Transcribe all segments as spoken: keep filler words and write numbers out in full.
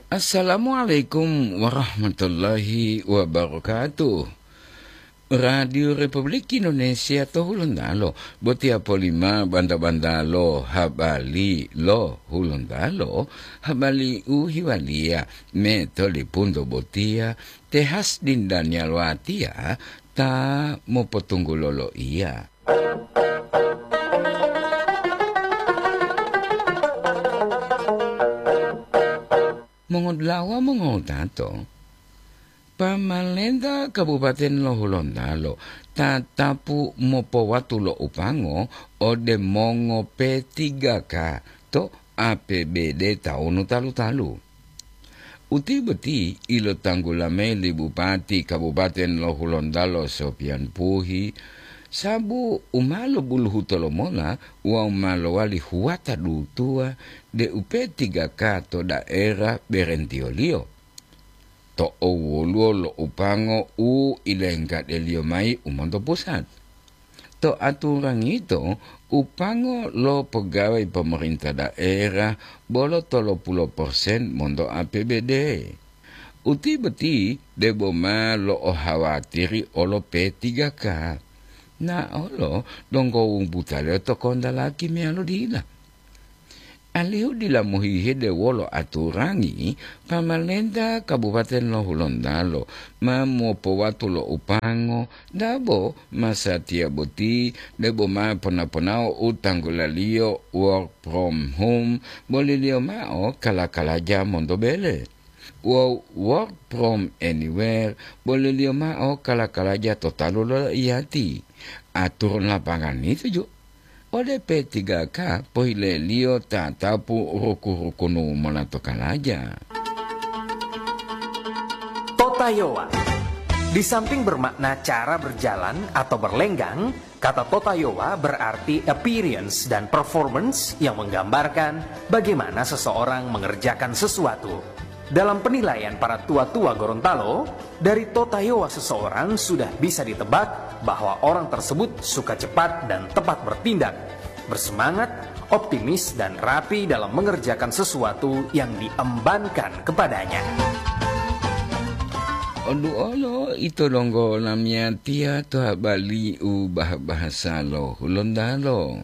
Assalamualaikum warahmatullahi wabarakatuh. Radio Republik Indonesia to Hulontalo, botiya polima banta-bantalo habali lo Hulontalo, habali u hiwaliya me to lipunto botiya, te Hasdin Daniel watiya ta mopotunggulo loiya. Mongodula'a mongowutato, pamalenta Kabupaten lo Hulontalo tatapu mopowatu lo upango ode mongo P tiga K to A P B D tawunu talu-talu. Uti boti ilotanggula mayi li Bupati Kabupaten lo Hulontalo Sopian Puhi, sabu u ma lobuluhuto lomola wawu ma lowali huwata dutuwa deu P tiga K to daerah berentiyoliyo. To owoluwo lo upango u ilenggadeliyo mayi u monto pusat. To aturangi yito, upango lo pegawai pemerintah daerah bolo tolopulo persen monto A P B D. Uti boti debo ma lo'ohawatiri olo P tiga K. Naolo donggo wumbutaliyo to kontalaki meyalo dila. Alihu dila mohihede wolo aturangi, pamalenta Kabupaten lo Hulontalo ma mopowatu lo upango dabo masatiya boti debo ma pona-ponao u tanggulaliyo work from home, boliliyo mao kala-kalaja monto bele. Wawu work from anywhere, boliliyo mao kala-kalaja to talu lo iyati. Aturan lapangan itu ju. Ode P tiga K pohileliyo tatapu ruku-rukunu mola to kalaja. Totayowa. Di samping bermakna cara berjalan atau berlenggang, kata totayowa berarti appearance dan performance yang menggambarkan bagaimana seseorang mengerjakan sesuatu. Dalam penilaian para tua-tua Gorontalo, dari totayowa seseorang sudah bisa ditebak bahwa orang tersebut suka cepat dan tepat bertindak, bersemangat, optimis, dan rapi dalam mengerjakan sesuatu yang diembankan kepadanya. Oduolo ito donggo lamiyatiya to habali u bah-bahasa lo Hulontalo.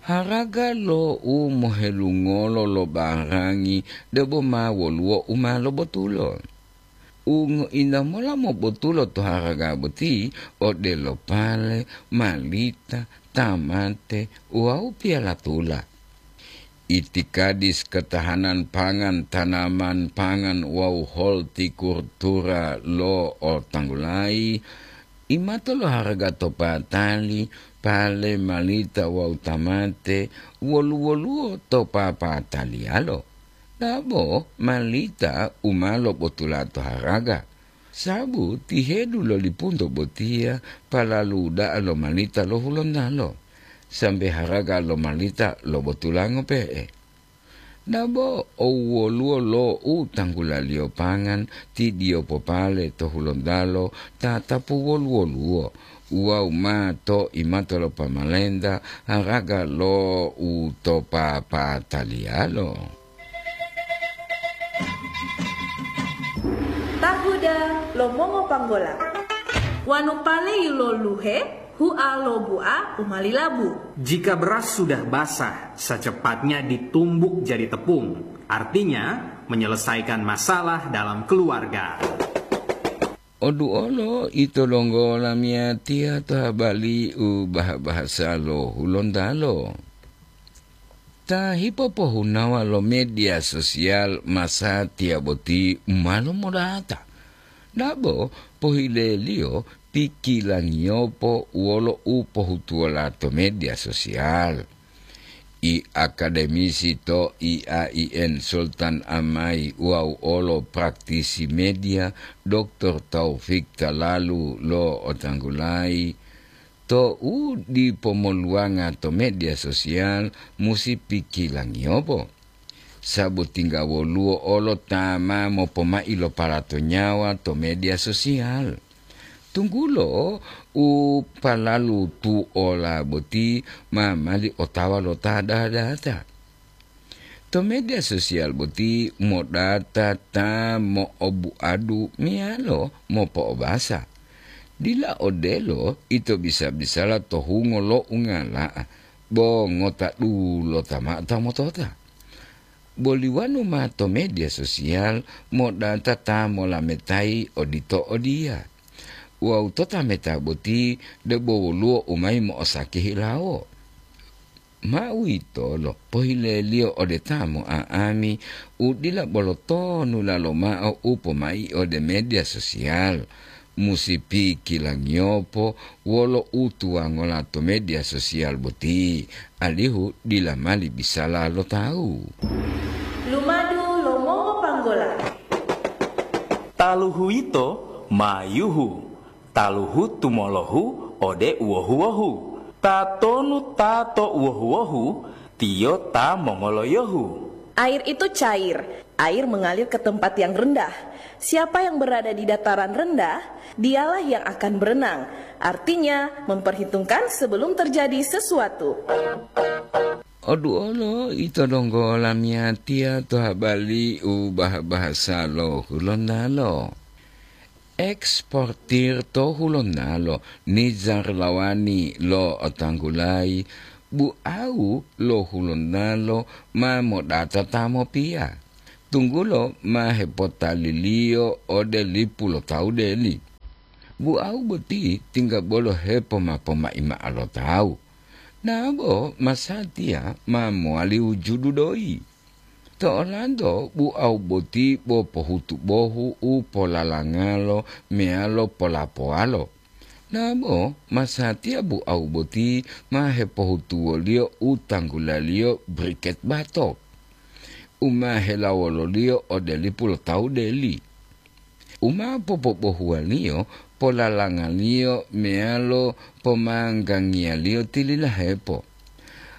Haraga lo u mohelungolo lo barangi debo ma woluwo u ma lobotulo. U ngointa mola mobotulo to haraga boti odelo pale, malita, tamate, wawu piyalatula. Itikadis ketahanan pangan, tanaman pangan wawu holtikultura lo otanggulayi, imato lo haraga to patali, pale, malita wawu tamate, wolu-woluwo to papataliyalo. Dabo malita u ma lobotula to haraga, sabu tihedu lo lipunto botiya palalu da'a lo malita lo Hulontalo, sambe haraga lo malita lobotula ngope'e. Dabo owoluwo lo u tanggulaliyo pangan ti diyo popale to Hulontalo tatapu wolu-woluwo, wawu ma to imato lo pamalenta haraga lo u to papataliyalo. Tahuda lo mongopanggola. Wanu pale yiloluhe, hua lo bua u ma lilabu. Jika beras sudah basah, secepatnya ditumbuk jadi tepung, artinya menyelesaikan masalah dalam keluarga. Oduolo ito donggo lamiyatiya to habali u bah-bahasa lo Hulontalo. Ta hipopohunawa lo media sosial masatiya boti u ma lomodata. Dabo pohileliyo pikilangiyopo wolo u pohutuwola to media sosial. I akademisi to I A I N Sultan Amai wawu olo praktisi media, Doktor Taufik Talalu lo otanggulayi, to u dipo moluwanga to media sosial musi pikilangiyopo. Sabu tingga woluwo olo ta ma mopomai lo palato nyawa to media sosial. Tunggulo u palalu tuola boti ma mali otawa lo ta dadata. To media sosial boti modata ta mo'obuadu meyalo mopo'obasa. Dila odelo ito bisa-bisala to hungo lo ungala'a, bo ngota dulota mao ta motota. Boli wonu ma to media sosial modata ta molametayi odito odiya. Wawu to tameta boti debo woluwo u mayi mo'osaki hilawo. Ma uwitolo pohileliyo ode ta mo'a'ami u dila bolo tonulalo mao u pomai ode media sosial. Musi pikilangiyopo wolo utuwangola to media sosial boti, alihu dila mali bisala lo tawu. Lumadu lo mongopanggola. Taluhu yito ma yuhu, taluhu tumolohu ode uwohu-wohu. Tatonu ta to uwohu-wohu, tiyo ta mongoloyohu. Air itu cair, air mengalir ke tempat yang rendah. Siapa yang berada di dataran rendah, dialah yang akan berenang. Artinya, memperhitungkan sebelum terjadi sesuatu. Oduolo ito donggo lamiyatiya to habali u bah-bahasa lo Hulontalo. Eksportir to Hulontalo, Nizar Lawani lo otanggulayi, bu'awu lo Hulontalo ma modata ta mopiya, tunggulo ma hepotaliliyo ode lipu lo tawu deli. Bu'awu boti tingga bolo hepoma pomai mao lo tawu. Nabo masatiya ma mowali wujudu doyi. To olanto bu'awu boti bo pohutu bohu u polalangalo meyalo polapowalo. Nabo masatiya bu'awu boti ma hepohutuwoliyo u tanggulaliyo briket batok, u ma helawololiyo ode lipu lo tawu deli. U ma popobohuwaliyo polalangaliyo meyalo pomanggangiyaliyo tililahepo.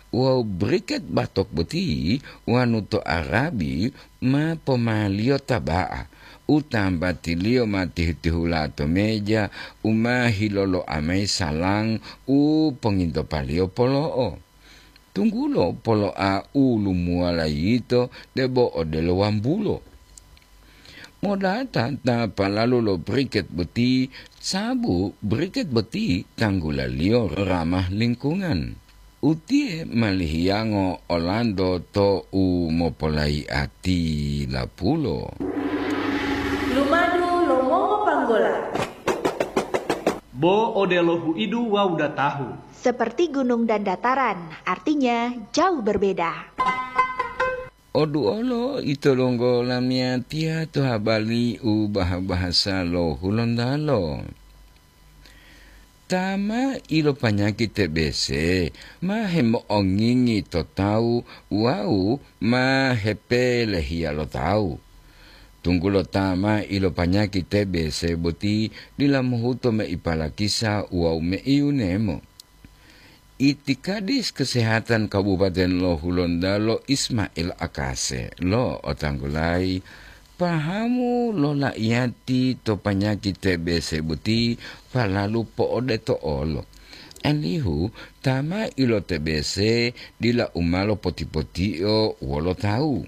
Wawu briket batok boti wonu to Arabi ma pomaliyo taba'a, u tambatiliyo ma tihu-tihula to meja, u ma hiloloa mayi salang u pongintopaliyo polo'o. Tunggulo polo'a u lumuwala yito debo odelo wambulo. Modata ta palalu lo briket boti, sabu briket boti tanggulaliyo ramah lingkungan. Utiye ma lihiyango olanto to u mopolayi'ati lapulo. Lumadu lo mongopanggola. Bo odelo huidu wawu datahu. Seperti gunung dan dataran, artinya jauh berbeda. Oduolo ito donggo lamiyatiya to habali u bah-bahasa lo Hulontalo. Ta ma ilopanyaki T B C ma hemo'ongingi to tawu wawu ma hepelehiya lo tawu. Tunggulo ta ma ilopanyaki T B C boti dila mohuto mei palakisa wawu mei yunemo. Itikadis Kesehatan Kabupaten lo Hulontalo Ismail Akase lo otanggulayi pahamu lo la'iyati to panyaki T B C boti palalu po'odeto olo. Alihu ta ma ilo-T B C dila u ma lopoti-potio wolo tawu.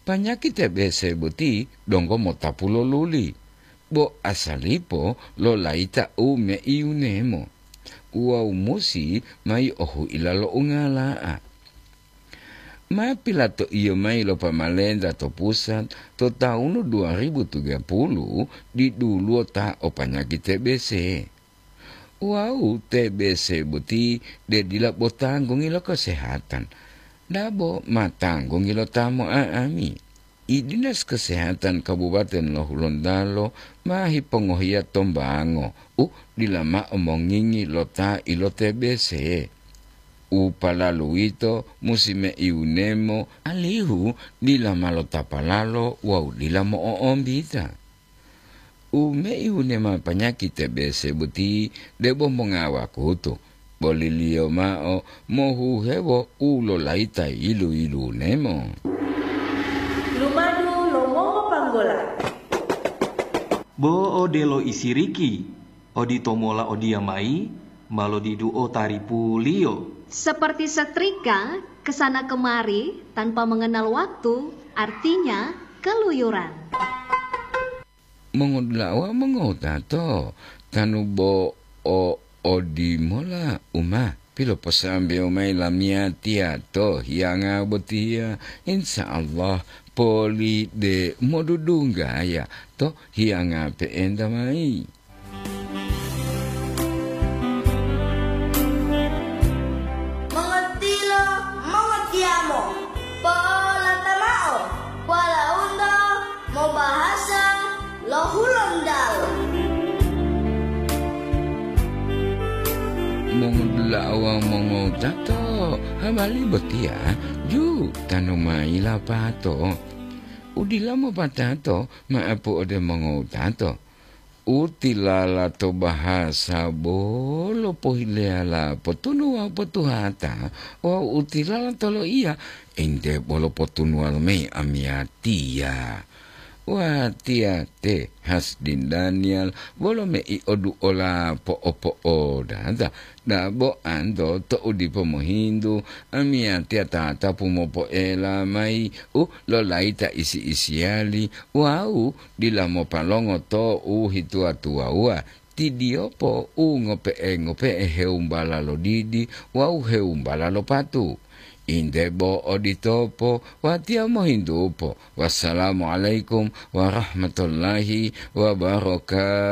Panyaki T B C boti donggo motapu lo luli, bo asalipo lo layita u mei yunemo wawu musi mayi ohuila lo ungala'a. Ma pilatoiyo mayi lo pamalenta to pusat to tawunu dua ribu tiga puluh diduluwo ta o panyaki T B C. Wawu T B C boti de dila bo tanggungi lo kesehatan, dabo ma tanggungi lo ta mo'a'ami. I Dinas Kesehatan Kabupaten lo Hulontalo ma hipongohiya tombango u dila mao mongingi lo ta ilo-T B C. U palalu uwito musi mei wunemo alihu dila ma lotapalalo wawu dila mo'o'ombita. U mei wunema panyaki T B C boti debo mongawakutu, boliliyo mao mohuhewo u lolayita yilu-yilunemo. Lumadu lo mongopanggola. Bo odelo isiriki, oditomola odiyamayi ma lodiduo taripuliyo. Seperti setrika, Kesana kemari tanpa mengenal waktu, artinya keluyuran. Mongodula'a wawu mongowutato, tanu bo o odimola u ma piloposambewo mayi lamiyatiya to hiyanga botiya, insya Allah poli de modudunggaya to hiyanga pe'enta mayi. Mongotilo, mongotiyamo, polata mao, walaundo mobahasa lo Hulontalo. Mongodula'a wawu mongowutato, habari botiya ju tanu mayi lapato. Udila mopatato ma'apu ode mongowutato. Utilala to bahasa bolo pohileyala potunu wawu potuhata, wawu utilala to loiya, ente bolo potunuwalo mayi amiyatiya. Watiya te Hasdin Daniel, bolo mei oduola po'opo'odata, dabo anto to'u dipo mohintu, amiyatiya tatapu mopoela mayi u lolayita isi-isiyali wawu dila mopalongo to u hituwa-tuwawuwa, tidiyopo u ngope'e-ngope'e hewumbala lo didi wawu hewumbala lo patu. Inde bo oditopo, watiya mohintupo. Wassalamualaikum warahmatullahi wabarakatuh.